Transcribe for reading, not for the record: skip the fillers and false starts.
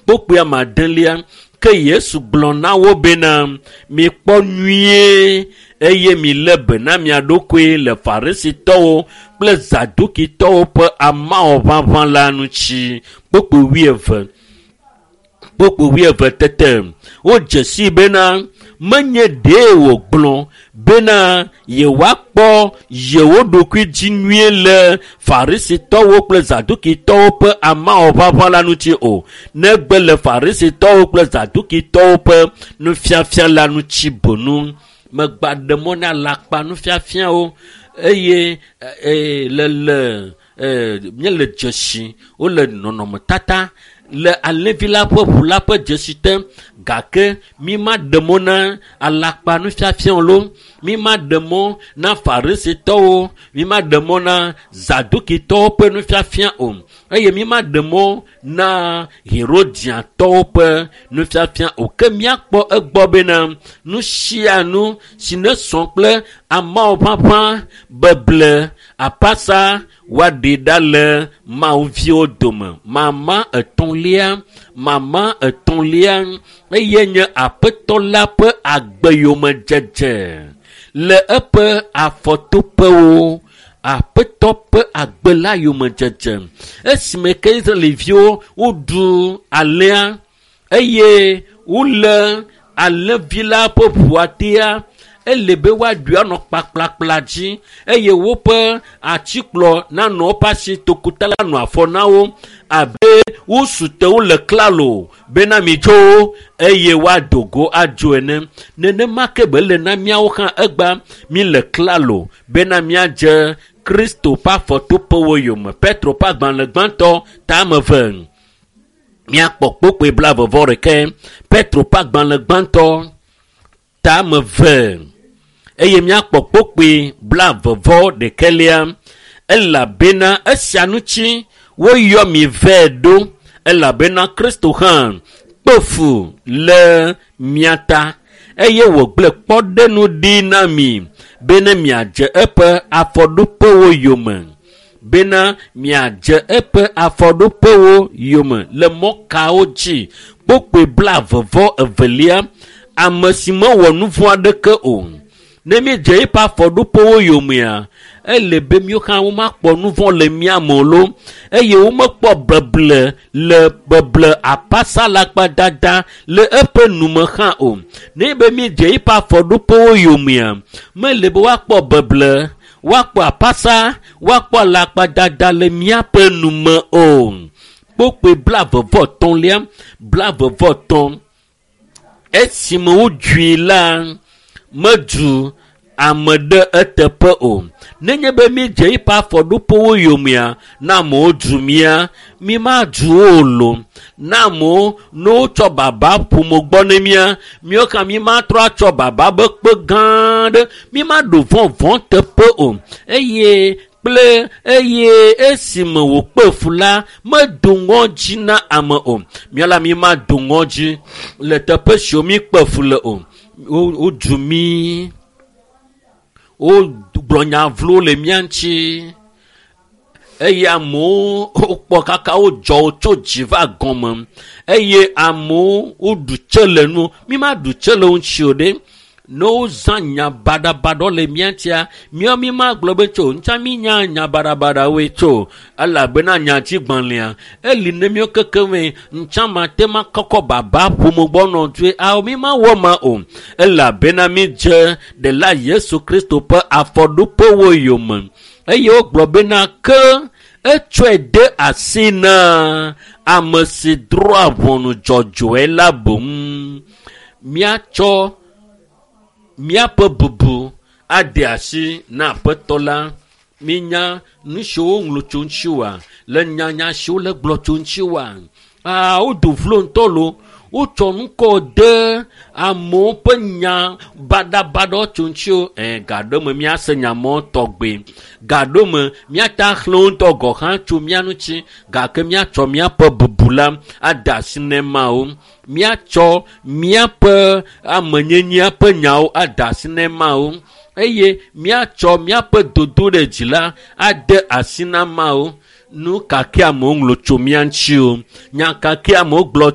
Kpokpoe ame adelia. Ke Yesu gblɔ na wo bena, mikpɔ nyuie eye milé be na mia ɖokui le Farisitɔwo kple Zadukitɔwo ƒe amawɔ ʋaʋã la ŋuti. Kpokpoe wuieve. Kpokpoe wuieve tete wodze sii bena menye ɖee wògblɔ bena yewoakpɔ yewo ɖokui dzi nyuie le Farisitɔwo kple Zadukitɔwo ƒe amawɔ ʋaʋã la ŋuti o, negbe le Farisitɔwo kple Zadukitɔwo ƒe nufiafia la ŋuti boŋ. Megba ɖe mɔ na alakpa nufiafiawo eye le le míele dzesi wole nɔnɔmetata le alẽvi la ƒe ʋu la ƒe dzesi te, gake mi ma ɖe mɔ na alakpa nufiafiawo lo, mi ma ɖe mɔ na Farisitɔwo, mi ma ɖe mɔ na Zadukitɔwo ƒe nufiafia o, eye mi ma ɖe mɔ na Herodiatɔwo ƒe nufiafia o. Ke míakpɔ egbɔ bena nu sia nu si ne sɔ kple ameawo ʋaʋã, beble, apasa, woaɖe ɖa le Mawuviwo dome. Mama etɔ̃lia, mama etɔ̃lia eye nye Aƒetɔ la ƒe agbeyomedzedze le eƒe afɔtoƒewo. Aƒetɔ ƒe agbe la yomedzedze. Esime ke Israeliviwo woɖu alẽa eye wole alẽvi la ƒe ʋua tea, ele be woaɖui anɔ kpakplakpla dzi eye woƒe atikplɔ nanɔ woƒe asi tokota la nɔ afɔ na wo abe wosu te wole klalo bena mitso eye woado go adzo ene. Nenema ke be le na míawo hã egba mi le klalo bena míadze Kristo ƒe afɔtoƒewo yome. Petro ƒe agbalẽ gbãtɔ tame eve. Míakpɔ kpokpoe blaeve-vɔ-ɖekɛ. Petro ƒe agbalẽ gbãtɔ tame eve eye míakpɔ kpokpoe blaeve-vɔ-ɖekɛlia. Elabena esia ŋuti woyɔ mi vɛ ɖo, elabena Kristo hã kpe fu le mia ta eye wògblẽ kpɔɖeŋu ɖi na mi bena miadze eƒe afɔɖoƒewo yome. Bena miadze eƒe afɔɖoƒewo yome le mɔ kawo dzi. Kpokpoe blaeve-vɔ-evelia, ame si mewɔ nu vɔ̃ aɖeke o. Ne míedze eƒe afɔɖoƒewo yomea, ele be míawo hã womakpɔ nu vɔ̃ le mía me o lo, eye womekpɔ beble le beble apasa lakpadada le eƒe nume hã o. Ne be míedze eƒe afɔɖoƒewo yomea, mele be woakpɔ beble, woakpɔ apasa, woakpɔ alakpadada le míaƒe nume o. Kpokpoe blaeve-vɔ-etɔ̃lia, blaeve-vɔ-etɔ̃. Esime wodzui la, medu ame ɖe eteƒe o. Nenye be míedze eƒe afɔɖoƒewo yomea, na amewo du mía, mi madu wo o lo. Na amewo ne wotsɔ baba ƒome gbɔ ne mía, míawo hã mi matrɔ atsɔ baba be kpe gã aɖe, mi maɖo vɔ̃vɔ̃ teƒe o. Eye kple eye esime wòkpe fu la, medo ŋɔdzi na ame o. Míala la mi mado ŋɔdzi le teƒe siwo mi kpe fu le o. Wodu mí, wogblɔ nya vlo le mía ŋuti eye amewo wokpɔ kaka wodzɔ wo tso dzi va gɔme eye amewo woɖu tse le nu. Mi maɖu tse le wo ŋuti o ɖe. Ne wozã nya baɖabaɖawo le mía ŋutia, míawo mi magblɔ be tso ŋutsa mi nya nya baɖabaɖawoe tso elabena nyadzigbalẽa eli ne míawo kekeŋ ŋutsa mate ma kɔkɔ baba ƒome gbɔ nɔ dzoe awo mi mawɔ ma o elabena mi dze ɖela Yesu Kristo ƒe afɔɖoƒewo yome eye wogblɔ bena ke etsɔe de asi na ame si drɔ̃a ʋɔnu dzɔdzɔe la boŋ. Míatsɔ míaƒe bubu ade asi na Aƒetɔ la. Mínya nu siwo woŋlɔ tso ŋuti oa, le nyanya siwo le gblɔ tso ŋuti oa. Aa, wodo vlo ŋutɔ lo. Wotsɔ ŋkɔ de amewo ƒe nya baɖabaɖawo tso ŋuti o. Gaɖo me míase nya mɔ tɔgbe. Gaɖo me míata xlẽ wo ŋutɔ gɔ̃ hã tso mía ŋuti gake míatsɔ míaƒe bubu la ade asi ne Mawu. Míatsɔ míaƒe amenyenyea ƒe nyawo ade asi ne Mawu eye míatsɔ míaƒe dodo ɖe dzi la ade asi na Mawu. Nu ka ke amewo ŋlɔ tso mía ŋuti o, nya ka ke amewo gblɔ